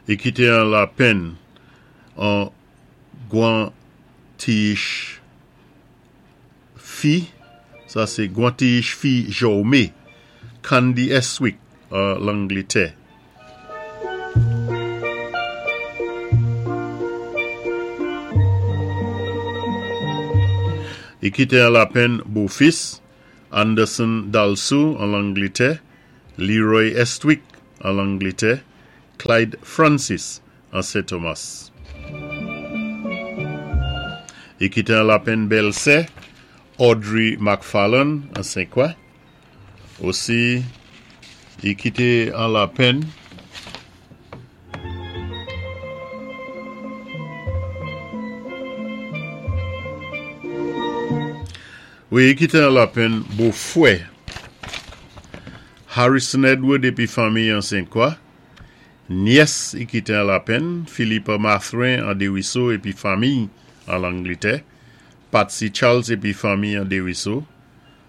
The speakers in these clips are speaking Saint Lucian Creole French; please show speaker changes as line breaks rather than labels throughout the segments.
I kité an lapenn an gwan tiyich fi, sa sé gwan tiyich fi Jòwmé, Candy Estwick an Langlitè. I kité an lapenn bofis, Anderson Dalsou an Langlitè, Leroy Estwick an Langlitè, Clyde Francis an Sen Tomas. I kité an lapenn bèlsè, Audrey McFarlane an Senkwa. Osi, i kité an lapenn. Wi, i kité an lapenn bofwè, Harrison Edward épi fanmiy an Sentkwa. Nyès i kité an lapenn, Philippa Mathurin an Dériso épi fanmiy an Langlitè, Patsy Charles épi fanmiy an Dériso,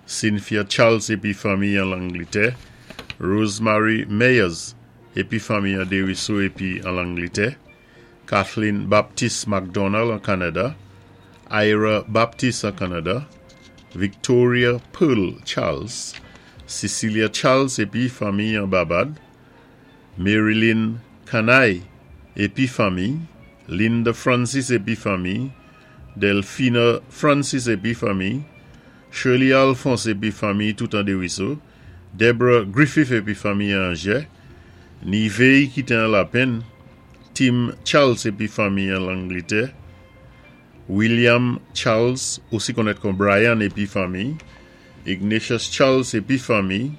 Cynthia Charles épi fanmiy an Langlitè, Rosemary Meyers épi fanmiy an Dériso épi an Langlitè, Kathleen Baptiste McDonald an Kanada, Ira Baptiste an Kanada, Victoria Pearl Charles, Cecilia Charles épi fanmiy an Babad, Marilyn Kanay épi fanmiy, Linda Francis épi fanmiy, Delphina Francis épi fanmiy, Shirley Alphonse épi fanmiy tout an Dériso, Deborah Griffith épi fanmiy an Anjè, Nivey kité an lapenn, Tim Charles épi fanmiy an Langlitè, William Charles, osi konnèt kon Brian épi fanmiy, Ignatius Charles épi fanmiy,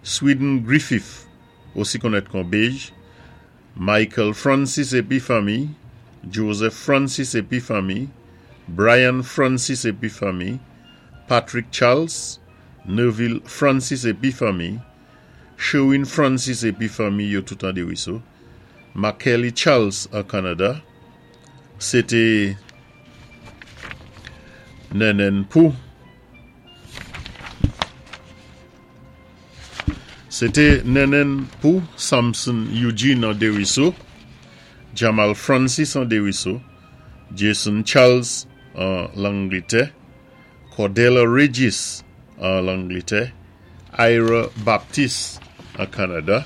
Sweden Griffith, osi konnèt kon Bej, Michael Francis épi fanmiy, Joseph Francis épi fanmiy, Brian Francis épi fanmiy, Patrick Charles, Neville Francis épi fanmiy, Sherwin Francis épi fanmiy yo tout an Dériso, Makelly Charles an Kanada. Sé té nènèn pou. Sé té nènèn pou Samson Eugene an Dériso, Jamal Francis an Dériso, Jason Charles an Langlitè, Cordella Regis an Langlitè, Ira Baptiste an Kanada,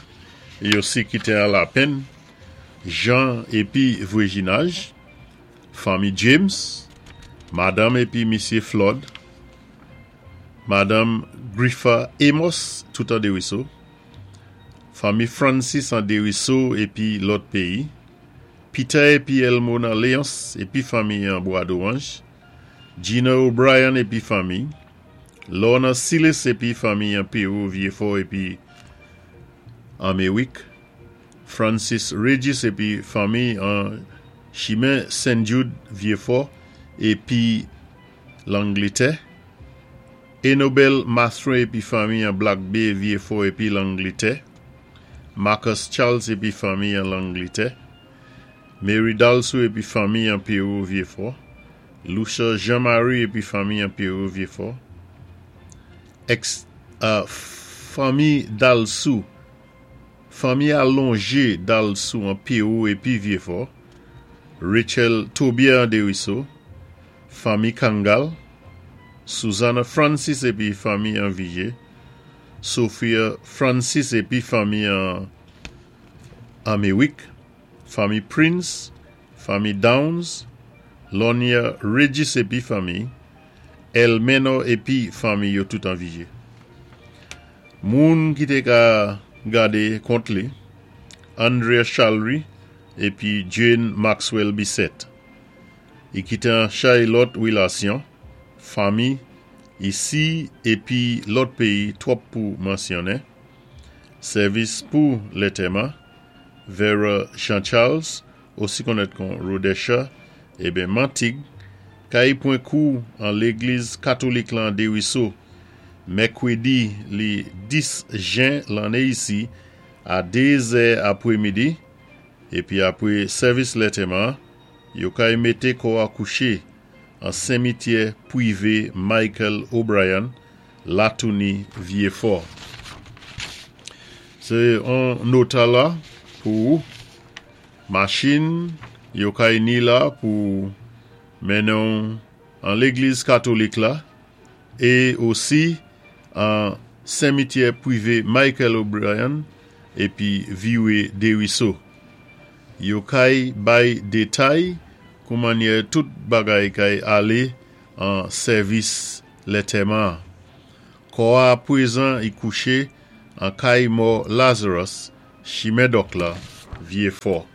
é osi kité an lapenn Jean épi Vwéjinaj, fanmi James, madanm épi misyé Flood, madanm Griffa Amos tout an Dériso, fanmi Francis an Dériso épi lòt péyi, Peter épi Elmona Léonce épi fanmi an Bwadowanj, Gina O'Brien épi fanmi, Lorna Silis épi fanmi an Pewou Vyefò épi Anméwik, Francis Regis épi fanmi an Chimen Sen Jude Vyefò épi Langlitè, Enobel Mathurin épi fanmi an Black Bay Vyefò épi Langlitè, Marcus Charles épi fanmi an Langlitè, Mary Dalsou épi fanmi an Pewou Vyefò, Lucia Jean Marie épi fanmi an Pewou Vyefò, ex fanmi Dalsou, fanmi alonjé Dalsou an Pewou épi Vyefò, Rachel Tobier an Dériso, fanmi Kangal, Susanna Francis épi fanmi an Vijé, Sophia Francis épi fanmi an Anméwik, fanmi Prince, fanmi Downs, Lonia Regis épi fanmi, Elmeno épi fanmi yo tout an Vijé. Moun ki té ka gadé kont li, Andrea Charlery épi Jane Maxwell Bisset. I kité an chay lòt wilasyon, fanmi, isi épi lòt péyi twòp pou mansyonnen. Sèvis pou lètèman, Vera Jean Charles, osi konnèt kon Rodesha, eben Mantig, kay pwan kou an légliz katolik lan Dériso, mèkwédi li 10 jen lanné isi a 2 zè apwémidi, épi apwé sèvis lètèman, yo kay mété kò a kouché an senmityè pwivé Michael O'Brien, Latouni Vyefò. Sé on nota la pou ou. Machin yo kay ni la pou mennen-w an légliz katolik la é osi an senmityè pwivé Michael O'Brien épi Viwé Dériso. Yo kay bay détay kou mannyè tout bagay kay alé an sèvis lantèman. Kò-a pwézan i kouché an kay mò Lazarus, Chimen Dòk la, Vyé Fò.